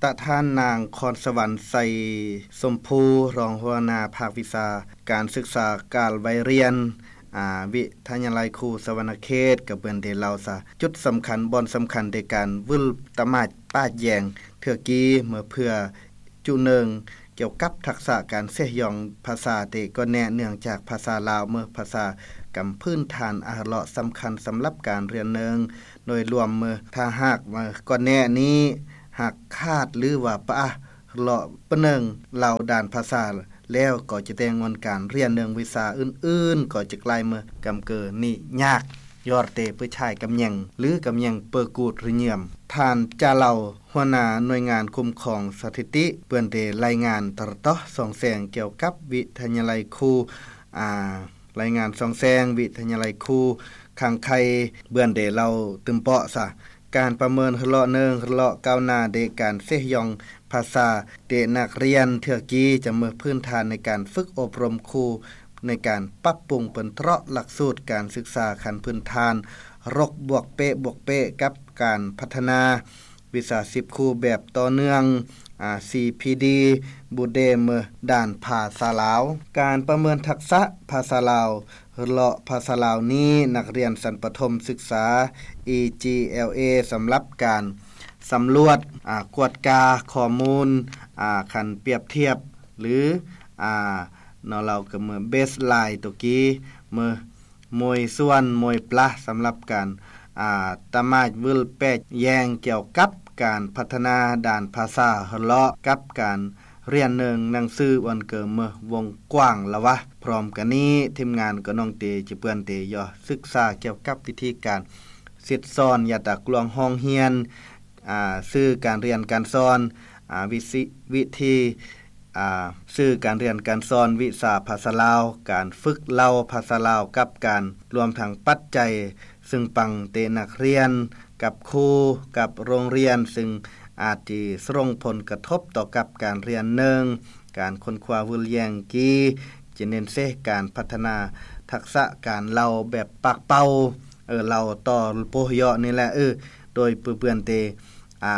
ຕະທ່ານນາງ ຄອນສະຫວັນ ໄຊສົມພູ ຮອງຫົວໜ້າພາກວິຊາການສຶກສາການໄວຮຽນ ອາ ວິທະຍາໄລຄູສະຫວັນນະເຂດ ກໍເພິ່ນໄດ້ເລົ່າສະ ຈຸດສຳຄັນ ບ່ອນສຳຄັນໃນການວຶ້ນຕະໝາດປາດແຢງເທື່ອກີ້ ເມື່ອເພື່ອຈຸໜຶ່ງ ກ່ຽວກັບທັກສະການເຊຍອງພາສາເຕກ່ອນແນະ ເນື່ອງຈາກພາສາລາວເໝີພາສາກຳພື້ນຖານອາເລາະສຳຄັນສຳລັບການຮຽນເນີງໂດຍລວມເໝີ ຖ້າຫາກວ່າກ່ອນແນະນີ້ຫາກຂາດ ຫຼືວ່າປະອາເລາະປະເໜິງເຫຼົ່າດ້ານພາສາແລ້ວ ກໍຈະແຕ່ງອນການຮຽນເນີງວິຊາອື່ນໆ ກໍຈະກາຍເໝີກຳເກີນີ້ຍາກ ຍອດເຕປຶຊາຍກຳແຍງ ຫຼືກຳແຍງເປີກູດຣິເຍມ. ທ່ານ ຈາເລົາ ຫົວໜ້າໜ່ວຍງານຄຸ້ມຄອງສະຖິຕິ ເພິ່ນໄດ້ລາຍງານຕະລະຕໍ່ສ່ອງແສງກ່ຽວກັບວິທະຍາໄລຄູ ອາ ລາຍງານສ່ອງແສງວິທະຍາໄລຄູຄັງໄຄ ເພິ່ນໄດ້ເລົ່າຕື່ມເປາະສະ ການປະເມີນຮະເລາະເນີງ ຮະເລາະກ້າວໜ້າໃນການເຊຍອງພາສາແຕ່ນັກຮຽນເທື່ອກີ້ ຈະເມີພື້ນຖານໃນການຝຶກອົບຮົມຄູ ໃນການປັບປຸງເປັນເຕາະຫຼັກສູດການສຶກສາຂັ້ນພື້ນຖານ ລົກບວກເປະບວກເປະ ກັບການພັດທະນາ ວິຊາຊີບຄູແບບຕໍ່ເນື່ອງ ອາ ຊີພີດີ ບູເດເມີ ດ້ານພາສາລາວ. ການປະເມີນທັກສະພາສາລາວ ເລາະພາສາລາວນີ້ ນັກຮຽນຊັ້ນປະຖົມສຶກສາ ອີຈີແອລເອ ສຳລັບການສຳຫຼວດ ອາ ກວດກາຂໍ້ມູນ ອາ ຄັນປຽບທຽບ ຫຼື ອາ ເນາະ ລາວກໍເມີເບສລາຍໂຕກີເມີ ໂມຍສ່ວນ ໂມຍປະ ສຳລັບການ ອາ ຕະໝາດວຶ້ນແປດແຍງກ່ຽວກັບການພັດທະນາດ້ານພາສາ ເລາະກັບການຮຽນເນີງໜັງສື ອັນເກີເມີວົງກວ້າງລະວະ. ພ້ອມກັນນີ້ ທີມງານກໍນ້ອງເຕຈະເປື້ອນເຕຢໍ້ສຶກສາກ່ຽວກັບວິທີການສິດສອນ ຢາຕາກລວງຫ້ອງຮຽນ ອາ ສື່ການຮຽນການສອນ ອາ ວິຊິ ວິທີ ອາ ສື່ການຮຽນການສອນວິຊາພາສາລາວ ການຝຶກເລົ່າພາສາລາວກັບການ ລວມທັງປັດໄຈຊຶ່ງປັງແຕ່ນັກຮຽນກັບຄູກັບໂຮງຮຽນ ຊຶ່ງອາດຈະສົ່ງຜົນກະທົບຕໍ່ກັບການຮຽນເນີງ ການຄົ້ນຄວ້າວຶ້ນແຍງກີຈະເນັ້ນເສການພັດທະນາທັກສະການເລົ່າແບບປາກເປົ່າ ເອີ ເລົ່າຕໍ່ໂປເຍາະນີ້ແຫຼະ ເອີ ໂດຍເປື້ອນເຕ ອາ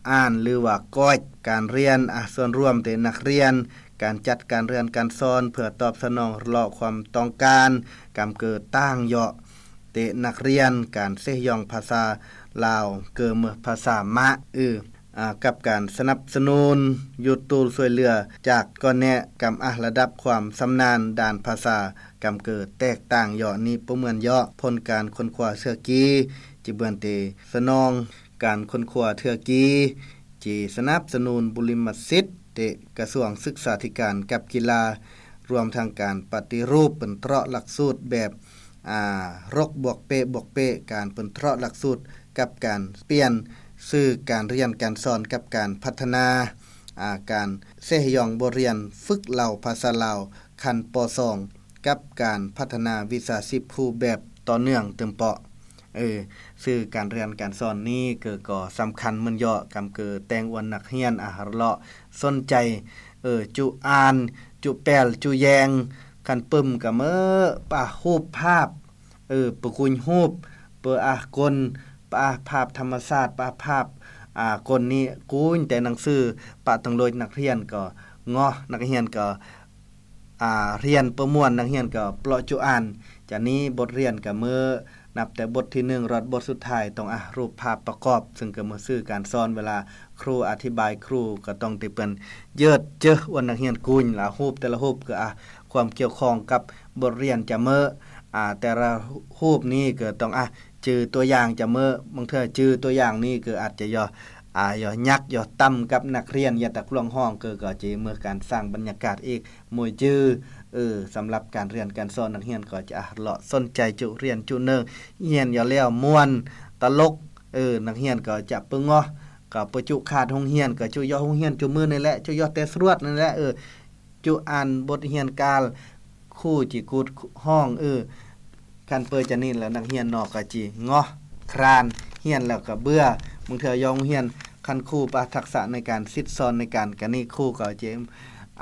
ອ່ານ ຫຼືວ່າກອດການຮຽນ ອາ ສ່ວນລວມເຕະນັກຮຽນ ການຈັດການຮຽນການສອນເພື່ອຕອບສະໜອງເລາະຄວາມຕ້ອງການ ກຳເກີຕ່າງເຍາະເຕະນັກຮຽນ ການເຊຍອງພາສາລາວ ເກີເມີພາສາມະ ອາ ກັບການສະໜັບສະໜູນ ຢູດຕູນຊ່ວຍເຫຼືອຈາກກໍແນະ ກຳອາລະດັບຄວາມຊຳນານດ້ານພາສາ ກຳເກີແຕກຕ່າງເຍາະນີ້ບໍ່ເໝືອນເຍາະ ຜົນການຄົ້ນຄວ້າເທື່ອກີ ຈະເບືອນເຕສະໜອງ ການຄົ້ນຄວ້າເທື່ອກີ ຈີສະໜັບສະໜູນບຸລິມະສິດເຕະກະຊວງສຶກສາທິການກັບກິລາ ລວມທັງການປະຕິຮູບເປັນເຕາະຫຼັກສູດແບບ ອາ ລົກບວກເປະບວກເປະ ການເປັນເຕາະຫຼັກສູດກັບການປ່ຽນສື່ການຮຽນການສອນກັບການພັດທະນາ ອາ ການເຊຍອງບົດຮຽນຝຶກເລົ່າພາສາລາວຂັ້ນ ປ.ສອງ ກັບການພັດທະນາວິຊາຊີບຄູແບບຕໍ່ເນື່ອງຕື່ມເປາະ ເອີ ສື່ການຮຽນການສອນນີ້ເກີກໍສຳຄັນເໝືອນເຍາະ ກຳເກີແຕ່ງອວນນັກຮຽນ ອາ ເລາະສົນໃຈ ເອີ ຈຸອ່ານ ຈຸແປວ ຈຸແຍງ ຄັນປຶ້ມກະເມີປະຮູບພາບ ເອີ ປະກຸຍຮູບ ປະອາກົນ ປະອາພາບທຳມະຊາດ ປະອາພາບ ອາ ກົນນີ້ກຸຍແຕ່ໜັງສື ປະຕົງໂລຍ ນັກຮຽນກໍງໍ ນັກຮຽນກໍ ອາ ຮຽນປະມ່ວນ ນັກຮຽນກໍເລາະຈຸອ່ານ ຈາກນີ້ບົດຮຽນກໍເມີ ນັບແຕ່ບົດທີໜຶ່ງຮອດບົດສຸດທ້າຍ ຕ້ອງ ອາ ຮູບພາບປະກອບ ຊຶ່ງກໍເມີສື່ການສອນ ເວລາຄູອະທິບາຍ ຄູກໍຕ້ອງໄດ້ເປັນເຢີດເຈີອວນນັກຮຽນກຸຍ ລະຮູບແຕ່ລະຮູບກໍ ອາ ຄວາມກ່ຽວຂ້ອງກັບບົດຮຽນຈະເມີ ອາ ແຕ່ລະຮູບນີ້ກໍຕ້ອງ ອາ ຈື່ຕົວຢ່າງຈະເມີ ບາງເທື່ອຈື່ຕົວຢ່າງນີ້ກໍອາດຈະຢ່າ ອາ ຢ່າຍັກ ຢ່າຕຳກັບນັກຮຽນ ຢ່າຕະກລວງຫ້ອງ ກໍ ກໍຈະເມີການສ້າງບັນຍາກາດອີກ ມວຍຈື່ ເອີ ສຳລັບການຮຽນການສອນ ນັກຮຽນກໍຈະ ອາ ເລາະສົນໃຈຈຸຮຽນຈຸເນີງ ຮຽນຢ່າແລ້ວມ່ວນຕະຫຼົກ ເອີ ນັກຮຽນກໍຈະປຶງງໍ ກໍປະຈຸຂາດໂຮງຮຽນ ກໍຈຸຢໍ້ໂຮງຮຽນຈຸມື້ນີ້ແຫຼະ ຈຸຢໍ້ແຕ່ສະຫຼວດນີ້ແຫຼະ ເອີ ຈຸອ່ານບົດຮຽນການ ຄູຈິກຸດຫ້ອງ ເອີ ຄັນເປີຈານີ້ແລ້ວ ນັກຮຽນເນາະ ກໍຈິງໍ ຄຣານ ຮຽນແລ້ວກໍເບື່ອ ບາງເທື່ອຢໍ້ໂຮງຮຽນ ຄັນຄູປະທັກສະໃນການສິດສອນໃນການກະນີ້ ຄູກໍຈະ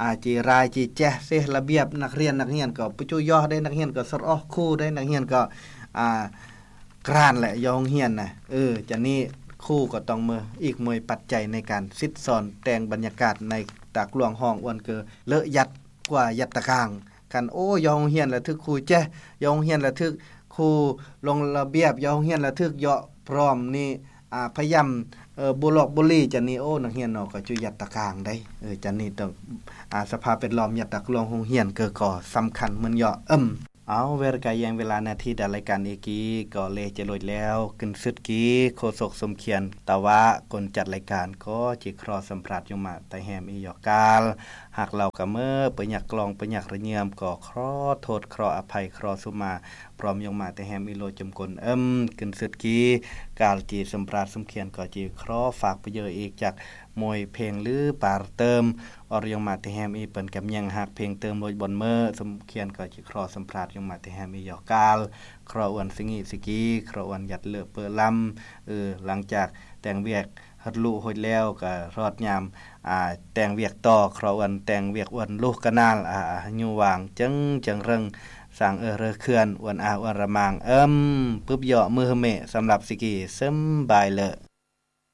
ອາ ຈິລາຍຈິແຈະເສລະບຽບນັກຮຽນ ນັກຮຽນກໍປະຈຸຢໍ້ໄດ້ ນັກຮຽນກໍສະຫຼອກຄູໄດ້ ນັກຮຽນກໍ ອາ ກຣານແຫຼະ ຢໍ້ໂຮງຮຽນນະ ເອີ ຈາກນີ້ ຄູກໍຕ້ອງມີອີກມວຍປັດໄຈໃນການສິດສອນແຕ່ງບັນຍາກາດໃນຕາກຫຼວງຫ້ອງອວນເກີເລາະຍັດກວ່າຍັດຕະກາງກັນ. ໂອ້ ຢອກໂຮງຮຽນລະຖືກຄູແຈະ ຢອກໂຮງຮຽນລະຖືກຄູລົງລະບຽບ ຢອກໂຮງຮຽນລະຖືກເຍາະພ້ອມນີ້ ອາ ພະຍາຍາມ ເອີ ບູຫຼອກບູຫຼີຈັ່ງນີ້. ໂອ້ ນັກຮຽນເນາະ ກໍຈຸຍັດຕະກາງໄດ໋. ເອີ ຈັ່ງນີ້ຕ້ອງ ອາ ສະພາບແວດລ້ອມຍັດຕາກຫຼວງໂຮງຮຽນເກີກໍສຳຄັນເໝືອນເຍາະ. ເອີມ ເອົາ ເວລາກະແຍ່ງເວລານາທີດາລາຍການເອກີກໍເລຈະລົດແລ້ວ. ຂຶ້ນສຸດກີໂຄສົກສົມຄຽນ ຕາວະ ຄົນຈັດລາຍການກໍຈິຂໍສຳພາດຍົມມະຕາແຮມອີຢອກການ. ຫາກລາວກະເມີປະຍັກກລອງປະຍັກລະເຍືອມ ກໍຂໍໂທດຂໍອະໄພຂໍສຸມາ ພ້ອມຍົມມະຕາແຮມອີໂລຈົມກົນ. ເອີມ ຂຶ້ນສຸດກີການຈິສຳພາດສົມຄຽນ ກໍຈິຂໍຝາກປະໂຫຍດອີກຈັກ ມວຍເພງຫຼືປາເຕີມ ອອດຍົງມາແຕ່ແຮມອີເປີ້ນກຳຍັງຮັກເພງເຕີມໂລດບ່ອນເມີ. ສົມຄຽນກໍຈິຂໍສຳພາດຍົງມາແຕ່ແຮມອີຢອກການ ເຄາະອວນສະງິສະກີ ເຄາະອວນຍັດເລີເປີລຳ. ເອີ ຫຼັງຈາກແຕ່ງວຽກຮັດລຸໂຮດແລ້ວ ກໍຮອດຍາມ ອາ ແຕ່ງວຽກຕໍ່ ເຄາະອວນແຕ່ງວຽກອວນລຸກະນານ ອາ ອາ ຫະຍຸຫວ່າງເຈິງ ເຈິງເຮິງ ສ້າງເອີເຣີເຂື່ອນ ອວນອາອວນລະມາງ. ເອີມ ປຶບເຍາະມືເຮີເມ ສຳລັບສະກີ ເຊິ່ມບາຍເລີ.